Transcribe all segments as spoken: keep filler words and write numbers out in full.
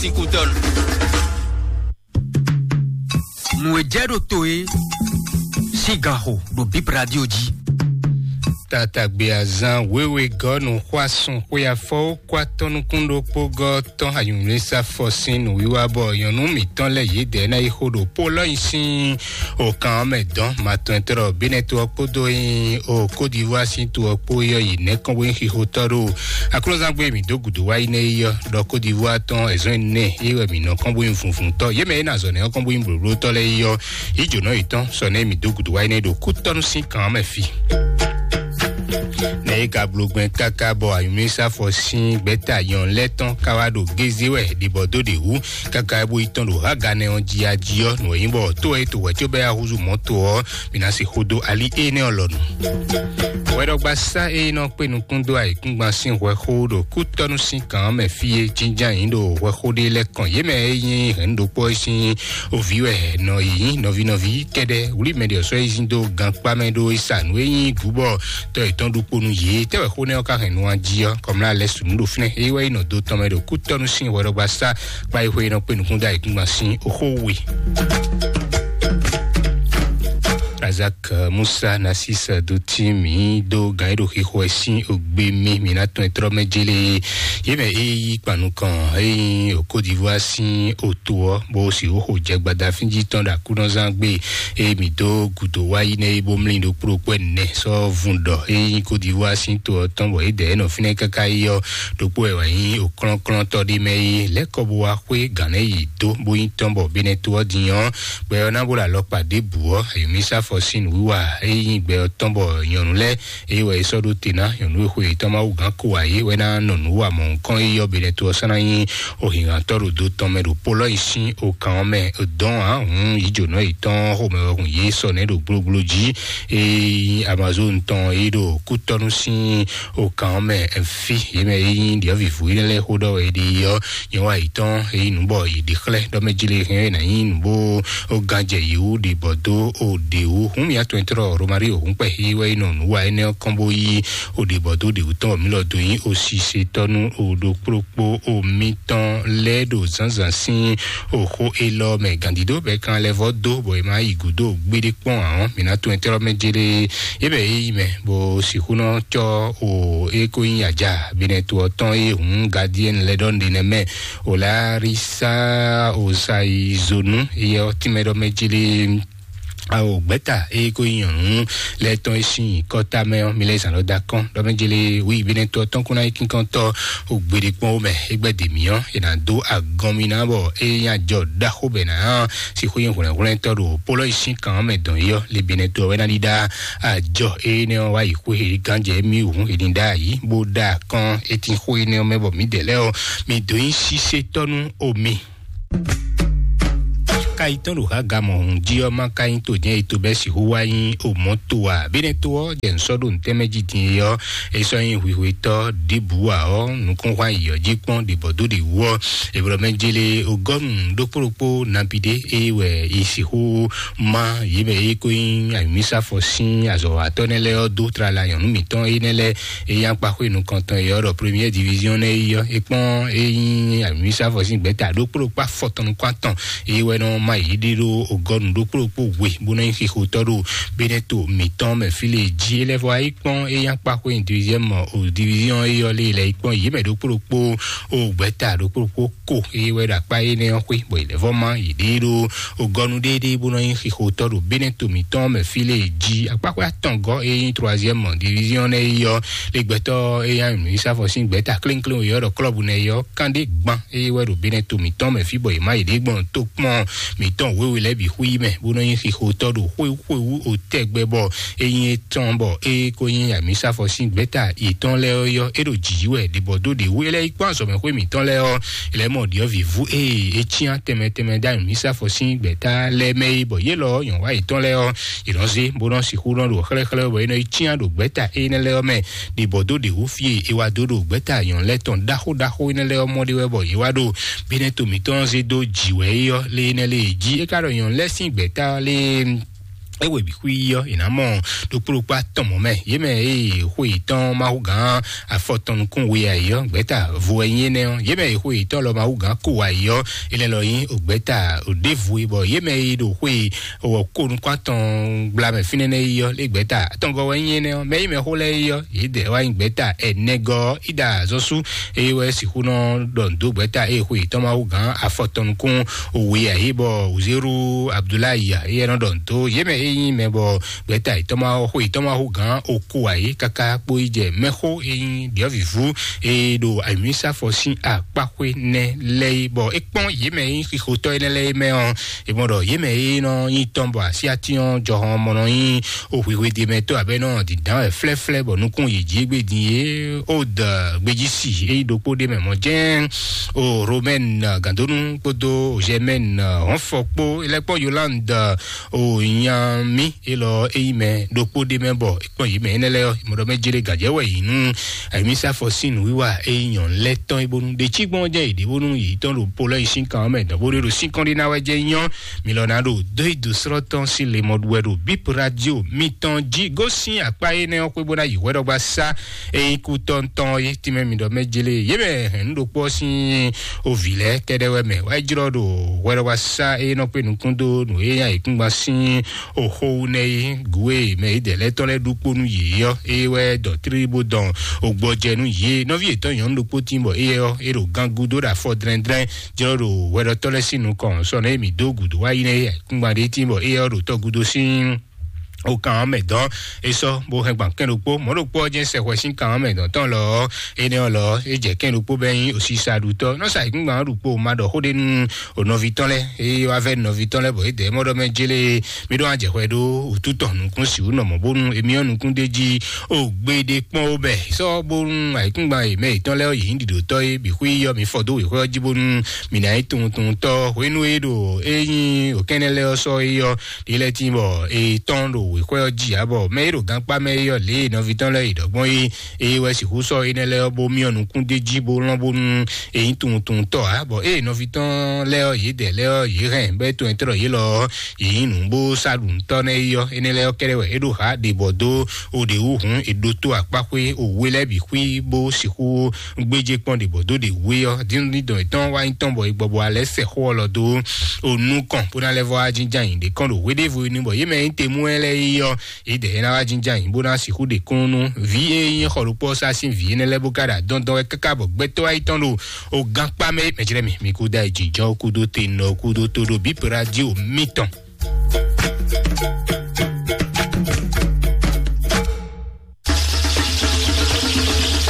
Síkútɔnu. Nǔ e jɛ ɖo to é sín gan xo ɖo Bip Radio jí. Tatagbe azan wěwe gɔ́ nǔ xwá sun xwé afɔwó kó atɔ́ nukún ɖokpó gɔ́ tɔn ayǔnúsafɔ sín nǔwiwa bɔ nyɔ̌nu mǐtɔn lɛ́ɛ yědɛɛ ná yi xo ɖo Polɔ́nyi sín o kan ɔ́ mɛ dɔn matɔntɔ́ Benɛto ɔ́ kpódó nyi o Côte d'Ivoire sín to ɔ́ kpó yɔ yi nɛ̌ kɔn bó nyí xixotɔ́ ɖo aklúzangbe mǐ dó gǔdo wá yi nɛ́ yi ɔ́ ɖɔ Côte d'Ivoire tɔn ɛzɔn ɛnɛ é wɛ mǐ nɔ kɔn bó nyí vunvuntɔ́ yě mɛ é ná zɔ nɛ̌ ɔ́ kɔn bó nyí blǒblótɔ́ lɛ́ɛ yi ɔ́ yí jǒnɔ yětɔn sɔ nɛ́ mǐ dó gǔdo wá yi nɛ́ ɖo kú tɔ́ nú sín kan ɔ́ mɛ fí. Nɛ é ka bló gbɛn káká bɔ ayǔmísafɔ sín gbɛ́ta nyɔ̌nu lɛ́ɛ tɔn ka wá ɖo gézé wɛ ɖibɔ dó ɖě wú káká é bó yi tɔn ɖo Haganɛ ɔ́ jí ají ɔ́, nǔ e nyí bɔ tó e to wɛ̌ có bɛ́ yá húzú mɔ̌to ɔ́, mǐ ná se xó dó ali énɛ́ ɔ́ lɔnu. Hwɛɖɔgbasá e nɔ kpé nukún dó ayǐkúngban sín hwɛxó ɖo kútɔ́nú sín kan ɔ́ mɛ fí e jínján nyǐ ɖo hwɛxó ɖé lɛ́ɛ kɔn yě mɛ e nyí hɛ̌nnu ɖokpó ɔ́ sín ovǐ wɛ nɔ yě nyí nɔví nɔví kɛ́ɖɛ́ wlí mɛ ɖě ɔ́ sɔ́ yi zín dó gankpá mɛ ɖó é sa nǔ e nyí gǔbɔ tɔ yětɔn ɖokpó nú yě. Tɛ́ wɛ xó nɛ́ ɔ́ ka hɛn nu ɔ́ jí ɔ́, kɔmlá lɛ́ su nǔ ɖo fínɛ́. É wá yi nɔ dó tɔn mɛ ɖo kú tɔ́ nú sín hwɛɖɔgbasá kpá yi xwé nɔ kpé nukún dó ayǐkúngban sín oxó we. Razak Musa Nasis dó tí mǐ dó gǎn é ɖo xixo ɛ sín ogbe mì mǐ ná tɔn ɛ tlɔ́ mɛ jélé. Yě mɛ é yí kpan nukɔn é nyí o Côte d'Ivoire sín oto ɔ́ bó sì wó xo jɛ gbadafín jí tɔn ɖo akúnɔzán gbe é mǐ dó gǔdo wá yi nɛ́ é bó mlí ɖokpó ɖokpó ɛnɛ sɔ́ vun ɖɔ é nyí Côte d'Ivoire sín to ɔ́ tɔn bɔ é dɛ é nɔ fínɛ́ káká yi ɔ́ ɖokpó wɛ wǎ nyí òklɔ́nklɔ́ntɔ́ ɖé mɛ é lɛ́ kɔ bó wá xwé gǎn nɛ́ yi dó bó nyí tɔn bɔ Benɛto ɔ́ din ɔ́ gbɛ ɔ́ ná bó ɖo alɔkpa ɖěbǔ ɔ́, ayǐmísafɔ sín nǔwiwa é nyí gbɛ ɔ́ tɔn bɔ nyɔ̌nu lɛ́ɛ é wɛ é sɔ́ ɖó te ná nyɔ̌nu e xwe yětɔn Mawu gǎn ko ǎ é wɛ ná nɔ nǔ wa mɔ̌hunkɔ́n é yí ɔ́ Benɛto ɔ́ sɔ́ ná nyí ohǐnhǎntɔ́ ɖo do tɔn mɛ ɖo Polɔ́yi sín okan ɔ́ mɛ dɔn ǎ hǔn yǐjǒnɔ yětɔn xomɛ wɛ hun yě sɔ nɛ́ ɖo gblógbló jí. Ée Amazon tɔn é ɖo kútɔ́nú sín okan ɔ́ mɛ fí yě mɛ é nyí ɖyɔ̌vǐvú énɛ́ lɛ́ɛ xó ɖɔ wɛ é ɖe yi ɔ́, nyɛ wá yi tɔn é nyí nǔ bɔ yi ɖi xlɛ́ ɖɔ mɛ jlé hɛn é ná nyí nǔ bó ó gán jɛ yi wú ɖi bɔ dó ó ɖě wú. Hǔn mì atɔn trɔ Romari òhún kpɛ é wɛ yi nɔ nǔ wa énɛ́ ɔ́ kɔn bó yí ó ɖi bɔ dó ɖě wú tɔn mí lɔ dó nyí ó si se tɔ́ nú ó ɖokpló kpó ó mítɔn lɛ́ ɖo zǎnzǎn sín òxó élɔ́ mɛ gǎndídó bɛ́ kan lɛ́ vɔ́ dó bɔ è má yi gǔdo gbéɖé kpɔ́n ǎ ɔ́, mǐ ná tunwun tɛ́ ɔ́ mɛ jéré. É bɛ é yi mɛ bó sixú nɔ cɔ́ o é kó nyí ajá binɛ to ɔ́ tɔn é hǔn gadiɛn lɛ́ ɖɔ nɖe nɛ mɛ o la rí sá o sa yi zonu éyɛ ɔ́ tínmɛ ɖɔ mɛ jéré. Ao gbɛ́ta é kó nyí nyɔ̌nu lɛ́ɛ tɔn é sín kɔ́ta mɛ ɔ́, mi lɛ́ zǎn lɔ dó akɔ́n ɖɔ mɛ jélé wí binɛ to ɔ́ tɔn kún ná nyí kínkɔ́ntɔ́ o gbeɖé kpɔ́n ó mɛ é gbɛ́ dě mì ɔ́, è nǎ dó agɔn mi ná bɔ é nyí ajɔ ɖaxó bɛ ná sixú nyí hwlɛ̌nhwlɛ́ntɔ́ ɖo pólɔ yi sín kan ɔ́ mɛ dɔn yi ɔ́, le binɛ to ɔ́ wɛ ná ɖíɖá ajɔ énɛ́ ɔ́ wá yi xwé é gán jɛ mì wǔ é ní ɖá ayǐ bó ɖá akɔ́n é tín xó énɛ́ ɔ́ mɛ bɔ mǐdɛɛ lɛ́ɛ ɔ́, mi dǒ nyí sísétɔ́ nú omi. Ka yi tɔn ɖo Haga mɔ hǔn jí ɔ́, má ka nyí to jɛ́n e to bɛ́ sixú wá nyí o mɔ̌ to ǎ. Bínɛ́ to ɔ́ jɛ nǔ sɔ́ ɖo nǔtɛ́mɛ jí din é ɔ́, é sɔ́ nyí hwihwetɔ́ ɖěbǔ ǎ ɔ́, nukúnxwá yǐyɔ́ jí kpɔ́n ɖě bɔ dó ɖě wú ɔ́, è blɔ mɛ jélé ogɔ́nu ɖokpó ɖokpó nabi ɖé é wɛ è sixú má yě mɛ é kó nyí ayǐmísafɔ sín azɔ̌watɔ́ nɛ́ lɛ́ɛ ɔ́ dó tlala nyɔ̌nu mǐtɔn énɛ́ lɛ́ɛ é nyí akpaxwé nukɔntɔn é ɔ́ ɖɔ première division nɛ́ é ɔ́, é kpɔ́n é nyí ayǐmísafɔ sín gbɛ̌ta ɖokpó ɖokpó afɔtɔn nukún atɔn é wɛ nɔ má yě ɖe ɖó ogɔ́nu ɖokpó ɖokpó we bó nɔ nyí xixotɔ́ ɖo Benɛto mǐtɔn mɛ fí lě jí é lɛ́ vɔ wá yi kpɔ́n é nyí akpaxwé deuxième o division é ɔ́ lé lɛ́ yi kpɔ́n yě mɛ ɖokpó ɖokpó o gbɛ̌ta ɖokpó ɖokpó ko é wɛ ɖo akpá énɛ́ ɔ́ xwé bɔ yě lɛ́ vɔ má yě ɖe ɖó ogɔ́nu ɖéɖé bó nɔ nyí xixotɔ́ ɖo Benɛto mǐtɔn mɛ fí lě jí akpaxwé atɔngɔ́ é nyí troisième division nɛ́ é ɔ́ lé gbɛtɔ́ é nyí ayǐmísafɔ sín gbɛ̌ta klénkléwun é ɔ́ ɖɔ klɔ́bu nɛ́ é ɔ́ kán ɖé gban é wɛ ɖo Benɛto mǐtɔn mɛ fí bɔ yě má yě ɖe gbɔn tó kpɔ́n mǐtɔn wěwe lɛ́ɛ bǐ xwí mɛ bó nɔ nyí xixotɔ́ ɖo xwéwú xwéwú o tɛgbɛ bɔ é nyí étɔn bɔ é kó nyí amǐsafɔ sín gbɛ́ta yětɔn lɛ́ɛ ɔ́ yɔ́ é ɖo jǐ wɛ ɖibɔ dó ɖě wú é lɛ́ yi kpɔ́n azɔ̌mɛxwé mǐtɔn lɛ́ɛ ɔ́ é lɛ́ mɔ ɖyɔ̌vǐvú ée é cyán tɛnmɛ tɛnmɛ dó amǐsafɔ sín gbɛ́ta lɛ́ɛ mɛ é bɔ yě lɔ nyɔ̌wá yětɔn lɛ́ɛ ɔ́ yě nɔ zé bó nɔ sixú nɔ ɖo xlɛ́xlɛ́ bɔ é nɔ yi cyán ɖo gbɛ́ta énɛ́ lɛ́ɛ ɔ́ mɛ ɖibɔ dó ɖě wú fí e é wá dó ɖo gbɛ́ta nyɔ̌nu lɛ́ɛ tɔn ɖaxó ɖaxó énɛ́ lɛ́ɛ ɔ́ mɔ ɖé wɛ bɔ yě wá ɖo Benɛto mǐtɔn zé dó jǐ wɛ é ɔ́ lé énɛ́ lé jí é ka ɖɔ nyɔ̌nu lɛ́ɛ sín gbɛ̌ta lé é wɛ bǐ xwí yɔ, è nǎ mɔ ɖokpó ɖokpó atɔn mɔ̌ mɛ. Yě mɛ e xwe yětɔn Mawu gǎn afɔtɔn nukún we ayǐ ɔ́, gbɛ̌ta vo wɛ nyí énɛ́ ɔ́. Yě mɛ e xwe yětɔn lɔ Mawu gǎn ko ayǐ ɔ́, é lɛ́ lɔ nyí ògbɛ̌ta ɖěvo e, bɔ yě mɛ e ɖo xwe wɔ ko nukún atɔn gbla mɛ fínɛ́ nɛ́ yi ɔ́, lé gbɛ̌ta atɔngɔ́ wɛ nyí énɛ́ ɔ́. Mɛ yi mɛ xó lɛ́ɛ yi ɔ́, yě dɛ wá nyí gbɛ̌ta ɛnɛgɔ́ ɔ́, Ida Zɔ́sú, eye wɛ sixú nɔ ɖɔ nǔ dó gbɛ̌ta eye xwe yětɔn Mawu gǎn afɔtɔn nukún we ayǐ, bɔ Uzeru Abdulayi, eye nɔ ɖɔ nǔ dó yě mɛ e nyí mɛ bɔ gbɛ̌ta yětɔn ma xwe yětɔn ma xo gǎn oko ayǐ káká kpó yi jɛ mɛxó e nyí ɖyɔ̌vǐvú e ɖo ayǐmísafɔ sín akpáxwé nɛ́ lɛ́ɛ yi, bɔ é kpɔ́n yě mɛ e nyí xixotɔ́ énɛ́ lɛ́ɛ mɛ ɔ́, è mɔ ɖɔ yě mɛ e nɔ nyí tɔn bɔ asyátín ɔ́ jɔhɔn mɔ nɔ nyí o hwihwedemɛtɔ́ abɛ́ nɔ dǐndán wɛ flɛ́flɛ́, bɔ nukún yě jí égbé din é o dɔ gbejí si é nyí ɖokpó ɖé mɛ mɔ jɛ́n o Romɛn Gandonu kpódó Jɛmɛn Hɔnfɔ kpó, é lɛ́ kpɔ́n Yolande o nya mì élɔ́ é nyí mɛ ɖokpó ɖé mɛ bɔ é kpɔ́n yě mɛ énɛ́ lɛ́ɛ ɔ́, mɔ ɖɔ mɛ jélé gǎjɛ wɛ yě nú ayǐmísafɔ sín nǔwiwa é nyí nyɔ̌nu lɛ́ɛ tɔn é bónú ɖe cí gbɔn jɛ yě ɖě bónú yě tɔn ɖo polɔ yi sín kan ɔ́ mɛ dɔn bó ɖé ɖo sín kɔn ɖé ná wɛ jɛ nyɔ́. Mi lɔ ná ɖo dó yi dǒ srɔ́ tɔn sín le mɔ ɖu wɛ ɖo bíp radio mitɔn jí gosín akpá énɛ́ ɔ́ xwé bó ná yi hwɛɖɔgba sá é nyí kú tɔntɔn é tínmɛ mi ɖɔ mɛ jélé yě mɛ hɛn nú ɖokpó ɔ́ sín ovǐ lɛ́ɛ kɛɖɛ́ wɛ mɛ wá jlɔ́ ɖo hwɛɖɔgba sá é nɔ kpé nukún dó nǔ é nyí ayǐkúngban sín oxo wú nɛ́ é gǔ e mɛ yědɛɛ lɛ́ɛ tɔn lɛ́ɛ ɖu kpó nú yě ɔ́, é wɛ dɔ tlílí bó dɔn ogbɔjɛ nú yě. Nɔví yětɔn nyɔ̌nu ɖokpó tín bɔ éyɛ́ ɔ́, é ɖo gangú dó ɖo afɔ dlɛ́ndlɛ́n jlɔ́ ɖo hwɛɖɔtɔ́ lɛ́ɛ sín nukɔn sɔ nɛ́ mǐ dó gǔdo wá yi nɛ́ é kúngban ɖé tín bɔ éyɛ́ ɔ́ ɖo tɔ́gúdo sín o kan ɔ́ mɛ dɔn é sɔ́ bó hɛn gban kɛn ɖokpó mɔ̌ ɖokpó ɔ́ jɛ́n sɛ hwɛ sín kan ɔ́ mɛ dɔn tɔn lɔ ɔ́, énɛ́ ɔ́ lɔ é jɛ kɛn ɖokpó bɛ́ nyí osisa ɖutɔ́ nɔ́ sa ayǐkúngban ɔ́ ɖu kpó ma ɖɔ xó ɖé nú o nɔví tɔn lɛ́ɛ é wá vɛ́ nɔví tɔn lɛ́ɛ bɔ é dɛ mɔ ɖɔ mɛ jélé mi ɖó wá jɛ hwɛ ɖó wǔtu tɔn nukún sixú nɔ mɔ̌ bónú émí ɔ́ nukún ɖé jí o gbeɖé kpɔ́n ó bɛ sɔ́ bónú ayǐkúngban e mɛ yětɔn lɛ́ɛ ɔ́ yě nyí ɖiɖǒtɔ́ é bǐ xwí yɔ mi fɔ dó wěxwé ɔ́ jí bónú mi ná nyí tunwuntunwuntɔ́ hwenu e ɖo é nyí òkɛ́nɛ́ lɛ́ɛ ɔ́ sɔ́ é ɔ́ ɖi lɛ́ tín bɔ è tɔ́n ɖo wěxwé ɔ́ jí ǎ bɔ mɛ e ɖo gankpá mɛ é ɔ́ lě e nɔví tɔn lɛ́ɛ yi ɖɔ gbɔn é eye wɛ sixú sɔ́ énɛ́ lɛ́ɛ ɔ́ bó myɔ nukún d'é jí bó lɔ́n bónú è nyí tunwuntunwuntɔ́ ǎ bɔ ée nɔví tɔn lɛ́ɛ ɔ́ yě dɛ lɛ́ɛ ɔ́ yě hɛn bɔ é tɔn e tlɔ yě lɔ ɔ́ yě nyí nǔ bó sá ɖu nǔtɔ́ nɛ́ é ɔ́ énɛ́ lɛ́ɛ ɔ́ kɛ́ɖɛ́ wɛ é ɖo xá ɖě bɔ dó o ɖě wú hǔn è ɖótó akpáxwé o wé lɛ́ɛ bǐ xwí bó sixú gbéjé kpɔ́n ɖě bɔ dó ɖě wú é ɔ́ díndíndɔn yětɔn wá nyí tɔn bɔ è gbɔ bɔ alɛ sɛ xó ɔ́ lɔ dó o nukɔn bó ná lɛ́ vɔ wá jínjɔ́n ayǐ ɖě kɔn ɖo hweɖévo ní bɔ yě mɛ nyí temú ɛ lɛ́ɛ é ɔ́ yě dɛ é ná wá jínjɔ́n ayǐ bó ná sixú ɖe kún nú vǐ e nyí xɔ ɖokpó ɔ́ sá sín vǐ énɛ́ lɛ́ɛ bó ka ɖo adɔndɔn wɛ káká bɔ gbɛtɔ́ wá nyí tɔn ɖo o gankpá mɛ mɛjlɛ́ mi mi kúdó ayǐ jǐjɔ́n kúdó te nɔ kúdó tó ɖo bíp radio mítɔn.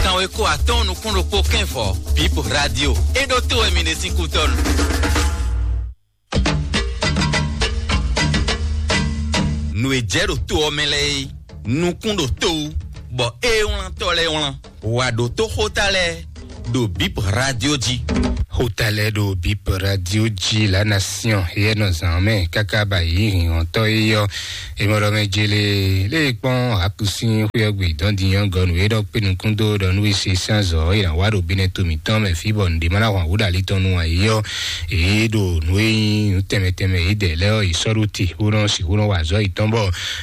Kanweko atɔ́ɔ́n nukún ɖokpó kɛ́nvɔ bíp radio é ɖó tó wɛ mi ɖe sín kútɔ́nu. Nǔ e jɛ ɖo to ɔ́ mɛ lɛ́ɛ é nukún ɖo to wú bɔ é wlántɔ́ lɛ́ɛ wlán wǎ ɖótó xóta lɛ́ɛ ɖo bíp radio jí. Xóta lɛ́ɛ ɖo bíp radio jí la nation yɛ nɔ zǎn mɛ káká ba yǐ hǐnhɔ́ntɔ́ é yɔ é mɔ ɖɔ mɛ jélé lé kpɔ́n akusin xwéyɔgbe dɔn dinyɔ́ gɔnu é ɖɔ kpé nukún dó ɖɔ nú é se sín azɔ̌ é nǎ wá ɖo bínɛ to mǐtɔn mɛ fí bɔ nǔɖé má ná hwan wǔ ɖo ali tɔn nu ǎ é yɔ èé ɖo nǔ e nyí nǔ tɛnmɛ tɛnmɛ yědɛɛ lɛ́ɛ ɔ́, yě sɔ́ ɖó te bó nɔ́ sixú nɔ́ wa azɔ̌ yětɔn bɔ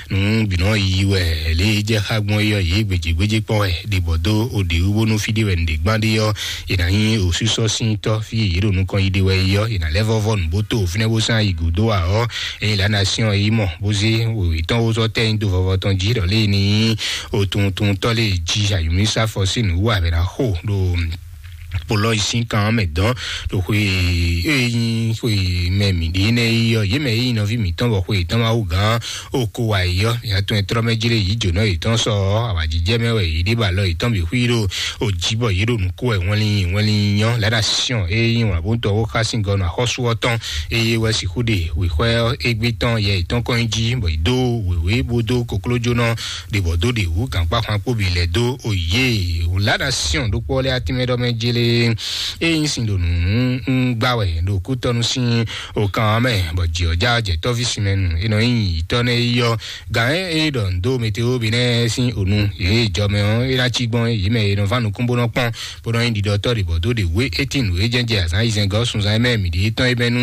nǔ bǐ nɔ́ yi wɛ lě e jɛ xá gbɔn é ɔ́, yě gbějégbéjé kpɔ́n wɛ ɖě bɔ dó o ɖě wú bónú fí ɖé wɛ nǔɖé gbán ɖé ɔ́, è nǎ nyí òsúsɔ́ sín tɔ́ fí e yě ɖo nukɔn yi ɖe wɛ é ɔ́, è nǎ lɛ́ vɔ́ vɔ nǔ bó tó fínɛ́ bó sán yi gǔdo ǎ ɔ́, ényí lǎ ná syɔ́n é yi mɔ bó zé wěwé tɔn wó zɔ́ tɛ́ nyi dó vɔvɔ tɔn jí ɖɔ lě e ní nyí o tunwuntunwuntɔ́ lě e jí ayǔmísá fɔ sín nǔ wú abɛ ná xo ɖo kpolɔ yi sín kan mɛ dɔn ɖo xwe e nyi xwe mɛ mǐ ɖe nɛ yi ɔ yě mɛ yi nɔví mǐtɔn bɔ xwe yětɔn ma wú gán o ko wa yi ɔ ya tɔn trɔ mɛ jlé yi jǒnɔ yětɔn sɔ awajijɛ mɛ wɛ yě ɖe ba lɔ yětɔn bi xwi ɖo o jí bɔ yě ɖo nǔ ko wɛ wɛnlin wɛnlin nyɔ lɛ́ ɖo asisyɔn e nyi wǎn bó tɔ wó xá sín gɔnɔ axɔ́sú ɔ́ tɔn eye wɛ sixú ɖe wěxwɛ égbé tɔn yɛ yětɔn kɔn nyi jí bɔ yě dó wěwé bó dó koklójónɔ ɖe bɔ dó ɖe wǔ gǎnkpá xwan kpó bǐ lɛ́ dó òye. Wǔlá ná syɔn ɖokpó lɛ́ɛ atínmɛ ɖɔ mɛ jélé e nyí sin ɖo nǔ gbá wɛ ɖo kútɔnu sín okan ɔ́ mɛ, bɔ jǐ ɔ́ já jɛ tɔ́ví sinmɛ nu e nɔ nyí yǐtɔ́ nɛ́ yi ɔ́. Gǎn e e ɖɔ nǔ dó meteo bi nɛ́ sín onu yě jɔ mɛ ɔ́, é ná cí gbɔn yě mɛ e nɔ ván nukún bó nɔ kpɔ́n, bó nɔ nyí ɖiɖɔtɔ́ ɖě bɔ dó ɖě wé é tín nǔ e jɛ́n jɛ azǎn ayizɛ́ngɔ́ sunzan e mɛ mǐ ɖi tɔn e bɛ́ nú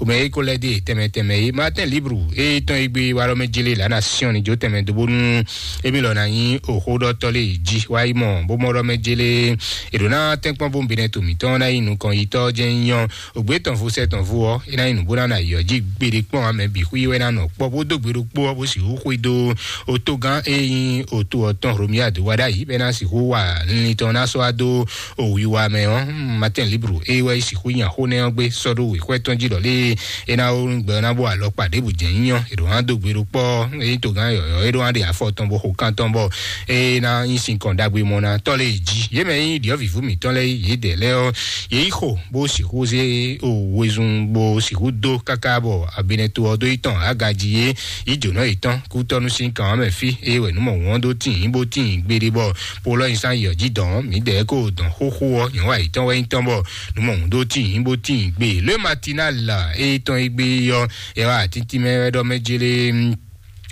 omɛ e ko lɛ́ dó e tɛnmɛ tɛnmɛ é. Martin Libre e tɔn e gbé wá ɖɔ mɛ jélé lǎ ná syɔ́n ní jó tɛnmɛ dó bónú émí lɔ ná nyí òxóɖɔtɔ́ lé jí wá yi mɔ bó mɔ ɖɔ mɛ jélé è ɖǒ ná tɛ́nkpɔ́n bó bɛnɛ to mǐtɔn ná nyí nukɔn yitɔ́ jɛ́n nyí ɔ́, ògbé tɔn vo sɛ tɔn vo ɔ́, é ná nyí nǔ bó ná ná yɔ jí gbeɖé kpɔ́n amɛ bǐ xwí wɛ ná nɔ kpɔ́ bó dó gbe ɖokpó ɔ́ bó sixú xwedó otógán e nyí oto ɔ́ tɔn Romiad wá ɖ'ayǐ bɔ é ná sixú wa linlin tɔn ná sɔ́ wá dó òwiwa mɛ ɔ́. Martin Libre e wɛ sixú nya xó nɛ́ ɔ́ gbé sɔ́ ɖó wěxwɛ́ tɔn jí ɖɔ lé é ná wó gbɛ ɔ́ ná bó alɔkpa ɖěbǔ jɛ́n nyí ɔ́, è ɖǒ ná dó gbe ɖokpɔ́ ɔ́, é nyí togán yɔ̌yɔ́ é ɖó ná ɖe afɔ tɔn bó xo kan tɔn bɔ é ná nyí sinkɔn ɖagbe mɔ ná tɔ́ lé jí. Yě mɛ nyí ɖyɔ̌vǐvú mǐtɔn lɛ́ɛ yědɛɛ lɛ́ɛ ɔ́, yě yi xo bó sixú zé wezun bó sixú dó káká bɔ abinɛto ɔ́ dó yi tɔn agají yé yi jǒnɔ yětɔn kútɔ́nú sín kan ɔ́ mɛ fí. Eye wɛ nǔ mɔ wǔn ɔ́ dó tíin bó tíin gbeɖé bɔ polɔ nyi sán yi ɔ́ jí dɔn mǐdɛɛ kó dɔn xóxó ɔ́ nyɔ̌ wa yětɔn wɛ nyí tɔn bɔ nǔ mɔ wǔn dó tíin bó tíin gbe. Le matinal e tɔn e gbe ɔ́ ɛ wá tíntín mɛ wɛ ɖɔ mɛ jélé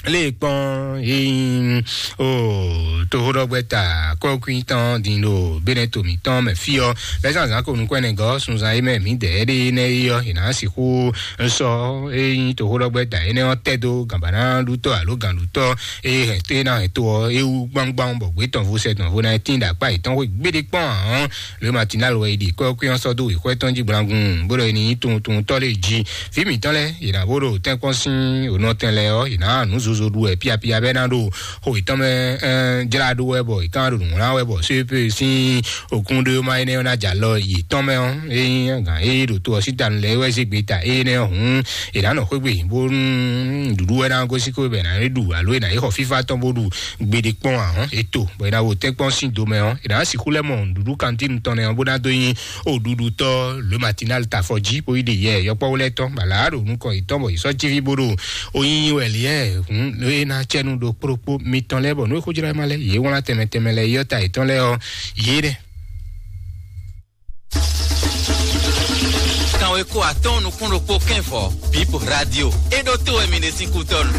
lé kpɔn yín o toxóɖɔgbɛ́ta kɔ́kwín tɔn din ɖo bɛnɛ to mǐtɔn mɛ fí ɔ́. Bɛ́ zán zán ko nukɔn ɛnɛ gɔ́ sunzan e mɛ mǐdɛɛ ɖe nɛ́ é ɔ́, è nǎ sixú sɔ́ é nyí toxóɖɔgbɛ́ta énɛ́ ɔ́ tɛ́ dó gǎnbáná ɖutɔ́ alo gǎnɖutɔ́ e hɛn tó e ná hɛn tó ɔ́ é wú gbámgbám bɔ gbě tɔn vo sɛ tɔn vo ná tín ɖo akpá yětɔn xwé gbéɖé kpɔ́n ǎ ɔ́. Le matinal wɛ è ɖi kɔ́kwín ɔ́ sɔ́ dó wěxwɛ́ tɔn jí gblangun bó ɖɔ è ní nyí tunwun tunwun tɔ́ lé jí. Vǐ mǐtɔn lɛ́ɛ yě ná bó ɖo tɛ́nkpɔ́n sín ònɔtɛn lɛ́ɛ ɔ́, yě ná nǔ zozo ɖu wɛ píapía bɛ́ ná ɖo xo yětɔn mɛ jlá ɖó wɛ bɔ yě ká ɖo nǔ wlán wɛ bɔ sépé sín òkúnɖéwéma énɛ́ ɔ́ ná jɛ alɔ yětɔn mɛ ɔ́, é nyí gǎn é ɖo to ɔ́ sí tanu lɛ́ɛ é wɛ zé gbe ta énɛ́ ɔ́ hǔn, è nǎ nɔ xwé gbe bónú nǔɖuɖu wɛ ná gosín xwé bɔ è nǎ ɖu alo è nǎ yi xɔ fífá tɔn bó ɖu gbeɖé kpɔ́n ǎ hɔn. È to bɔ è ná wo tɛ́nkpɔ́n sín do mɛ ɔ́, è nǎ sixú lɛ́ mɔ nǔɖuɖu kantín tɔn nɛ́ ɔ́ bó ná dó nyí o ɖuɖutɔ́ le matinal ta afɔ jí bó yi ɖe yɛ yɔkpɔ́wú lɛ́ɛ tɔn bala ɖo nukɔn yětɔn bɔ yě sɔ́ jíví bó ɖo o nyinyi wɛ liɛ hǔn é ná cɛnu ɖo kplokpó mitɔn lɛ́ɛ bɔ nú é xójlá ma lɛ́ɛ yě wlán tɛnmɛ tɛnmɛ lɛ́ɛ yɔ́ ta yětɔn lɛ́ɛ ɔ́, yě ɖɛ. Kanweko atɔ́ɔ́n nukún ɖokpó kɛ́nvɔ Bip Radio. É ɖó tó wɛ mi ɖe sín kútɔ́nu.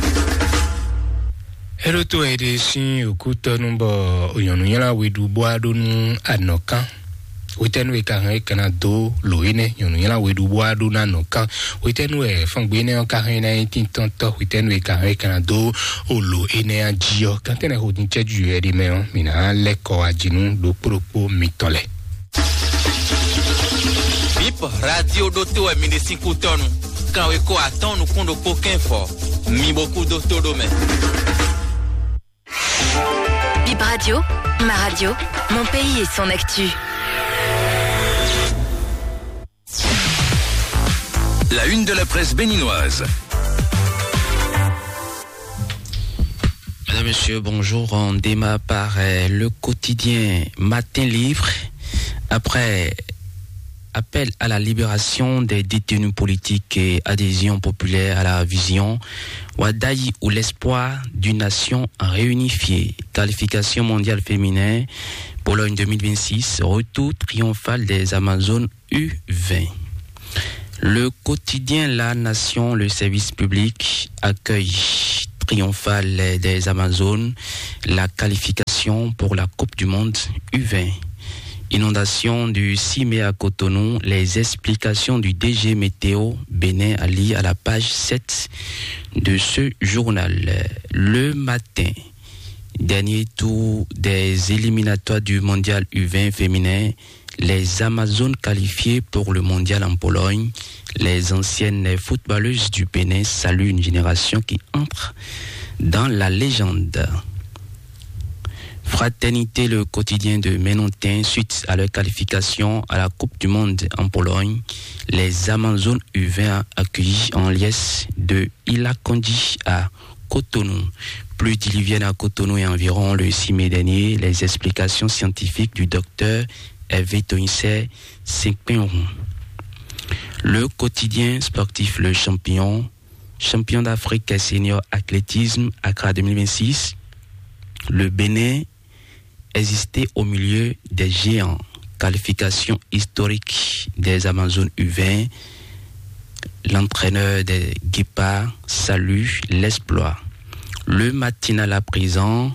É ɖó tó wɛ ɖe sín òkútɔ́nu bɔ nyɔ̌nu nylá we ɖu bó wá ɖó nú anɔ̌kán. Hwetɛ́nu e ka hɛn é ka ná dó lǒ énɛ́ nyɔ̌nu nylá we ɖu bó wá ɖó ná nɔ kán? Hwetɛ́nu wɛ fɔ́ngbé énɛ́ ɔ́ ka hɛn ná nyí tíntɔ́ntɔ́? Hwetɛ́nu e ka hɛn é ka ná dó o lǒ énɛ́ ɔ́ jí ɔ́? Kántɛ́nɛ́ hodun cɛ́jú wɛ ɖi mɛ ɔ́, mǐ ná lɛ́ kɔ wá jí nú ɖokpó ɖokpó mitɔn lɛ́ɛ. Bip Radio ɖótó wɛ mi ɖe sín kútɔ́nu. Kanweko atɔ́ɔ́n nukún ɖokpó kɛ́nvɔ. Mi bo kú dó tó ɖó mɛ. Bip Radio, ma radio, mon pays et son actu. La une de la presse béninoise. Mesdames, Messieurs, bonjour. On démarre par euh, le quotidien Matin Libre. Après appel à la libération des détenus politiques et adhésion populaire à la vision, Wadayi ou l'espoir d'une nation réunifiée. Qualification mondiale féminin, Pologne deux mille vingt-six, retour triomphal des Amazones U vingt. Le quotidien La Nation, le service public, accueil triomphal des Amazones, la qualification pour la Coupe du Monde U vingt. Inondation du six mai à Cotonou, les explications du D G Météo Bénin Ali à la page sept de ce journal. Le matin, dernier tour des éliminatoires du mondial U vingt féminin, les Amazones qualifiées pour le mondial en Pologne, les anciennes footballeuses du Bénin saluent une génération qui entre dans la légende. Fraternité, le quotidien de Ménontin, suite à leur qualification à la Coupe du Monde en Pologne, les Amazones U vingt accueillies en liesse de Ilakondi à Cotonou. Pluie diluvienne à Cotonou et environ le six mai dernier, les explications scientifiques du docteur Hervé Tonisset Sekpenrou. Le quotidien sportif Le Champion, champion d'Afrique senior athlétisme Accra deux mille vingt-six. Le Bénin existait au milieu des géants. qualification historique des Amazones U vingt, l'entraîneur des Guépards salue l'exploit. Le matinal à présent,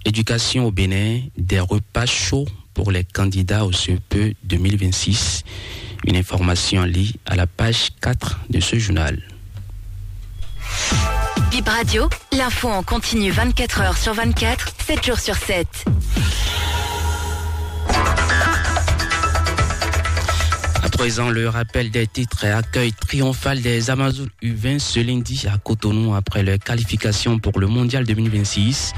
éducation au Bénin, des repas chauds pour les candidats au C E P deux mille vingt-six. Une information à lire à la page quatre de ce journal. Bip Radio, l'info en continu vingt-quatre heures sur vingt-quatre, sept jours sur sept. À présent, le rappel des titres et accueil triomphal des Amazones U vingt ce lundi à Cotonou après leur qualification pour le Mondial deux mille vingt-six.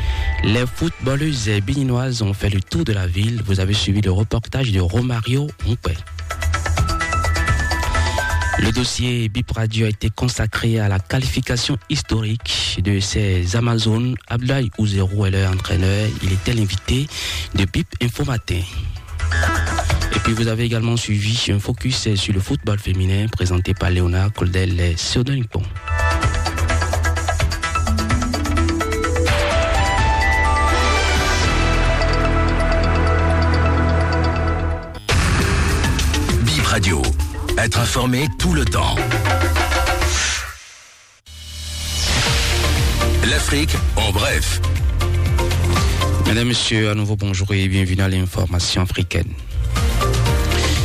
Les footballeuses béninoises ont fait le tour de la ville. Vous avez suivi le reportage de Romario Houpé. Le dossier Bip Radio a été consacré à la qualification historique de ces Amazones. Abdoulaye Ouzérou est leur entraîneur. Il était l'invité de Bip Info Matin. Et puis vous avez également suivi un focus sur le football féminin présenté par Léonard Coldel et Théodore Nippon. Bip Radio, être informé tout le temps. L'Afrique en bref. Mesdames, Messieurs, à nouveau bonjour et bienvenue à l'information africaine.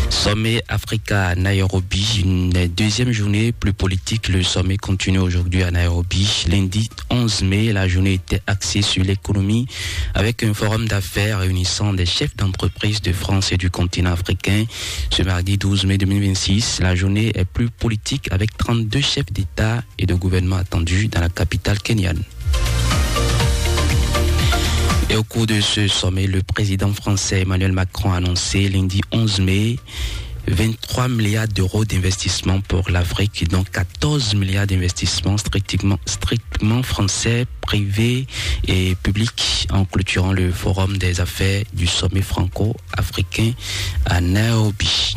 Sommet Africa à Nairobi, une deuxième journée plus politique. Le sommet continue aujourd'hui à Nairobi. Lundi onze mai, la journée était axée sur l'économie avec un forum d'affaires réunissant des chefs d'entreprise de France et du continent africain. Ce mardi douze mai deux mille vingt-six, la journée est plus politique avec trente-deux chefs d'État et de gouvernement attendus dans la capitale kenyane. Et au cours de ce sommet, le président français Emmanuel Macron a annoncé lundi onze mai vingt-trois milliards d'euros d'investissement pour l'Afrique, dont quatorze milliards d'investissements strictement, strictement français, privés et publics, en clôturant le forum des affaires du sommet franco-africain à Nairobi.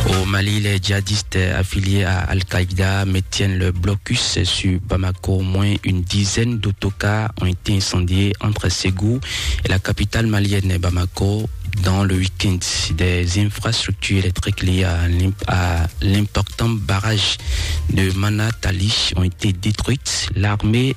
Au Mali, les djihadistes affiliés à Al-Qaïda maintiennent le blocus sur Bamako. Au moins une dizaine d'autocars ont été incendiés entre Ségou et la capitale malienne, Bamako, dans le week-end. Des infrastructures électriques liées à l'imp-, à l'important barrage de Manatali ont été détruites. L'armée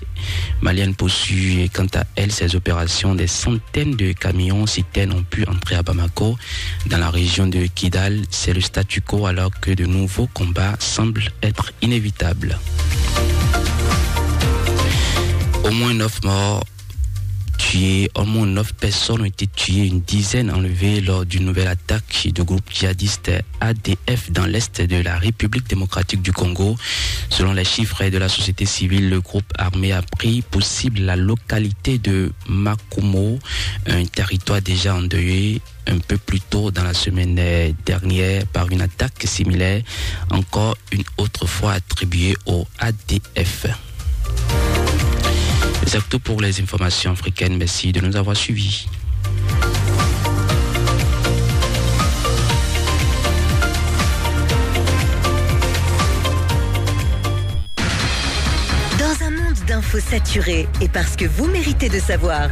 malienne poursuit, quant à elle, ses opérations. Des centaines de camions citernes ont pu entrer à Bamako. Dans la région de Kidal, c'est le statu quo alors que de nouveaux combats semblent être inévitables. Au moins neuf morts tués, au moins neuf personnes ont été tuées, une dizaine enlevées lors d'une nouvelle attaque de groupe djihadiste A D F dans l'est de la République démocratique du Congo. Selon les chiffres de la société civile, le groupe armé a pris pour cible la localité de Makumo, un territoire déjà endeuillé un peu plus tôt dans la semaine, euh, dernière par une attaque similaire. Encore une autre fois attribuée au A D F. C'est tout pour les informations africaines. Merci de nous avoir suivis. Dans un monde d'infos saturées et parce que vous méritez de savoir,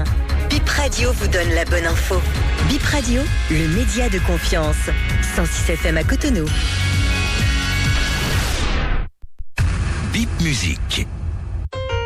Bip Radio vous donne la bonne info. Bip Radio, le média de confiance. Cent six F M à Cotonou. Bip Musique.